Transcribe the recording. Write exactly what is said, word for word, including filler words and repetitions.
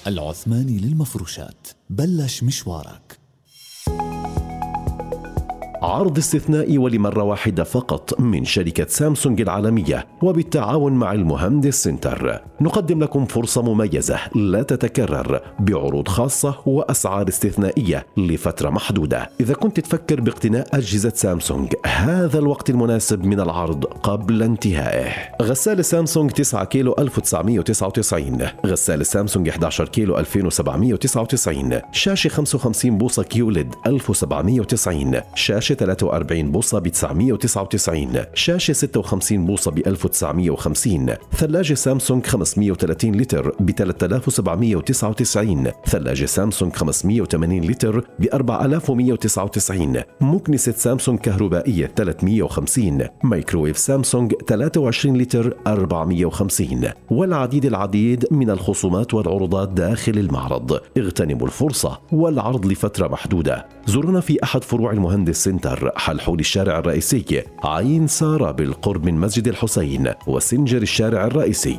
العثماني للمفروشات، بلش مشوارك. عرض استثنائي ولمرة واحدة فقط من شركة سامسونج العالمية وبالتعاون مع المهندس سنتر. نقدم لكم فرصة مميزة لا تتكرر بعروض خاصة وأسعار استثنائية لفترة محدودة. إذا كنت تفكر باقتناء أجهزة سامسونج، هذا الوقت المناسب من العرض قبل انتهائه. غسالة سامسونج تسعة كيلو ألف وتسعمائة وتسعة وتسعين، غسالة سامسونج إحدى عشر كيلو ألفين وسبعمائة وتسعة وتسعين، شاشة خمسة وخمسين بوصة كيوليد ألف وسبعمائة وتسعين، شاشة ثلاثة وأربعين بوصة ب تسعمائة وتسعة وتسعين، شاشة ستة وخمسين بوصة ب ألف وتسعمائة وخمسين، ثلاجة سامسونج خمسمائة وثلاثين لتر ب ثلاثة آلاف وسبعمائة وتسعة وتسعين، ثلاجة سامسونج خمسمائة وثمانين لتر ب أربعة آلاف ومائة وتسعة وتسعين، مكنسة سامسونج كهربائية ثلاثمائة وخمسين، مايكروويف سامسونج ثلاثة وعشرين لتر أربعمائة وخمسين، والعديد العديد من الخصومات والعروضات داخل المعرض. اغتنموا الفرصة والعرض لفترة محدودة. زورونا في أحد فروع المهندس سنتر، حلحول الشارع الرئيسي، عين سارة بالقرب من مسجد الحسين، وسنجر الشارع الرئيسي.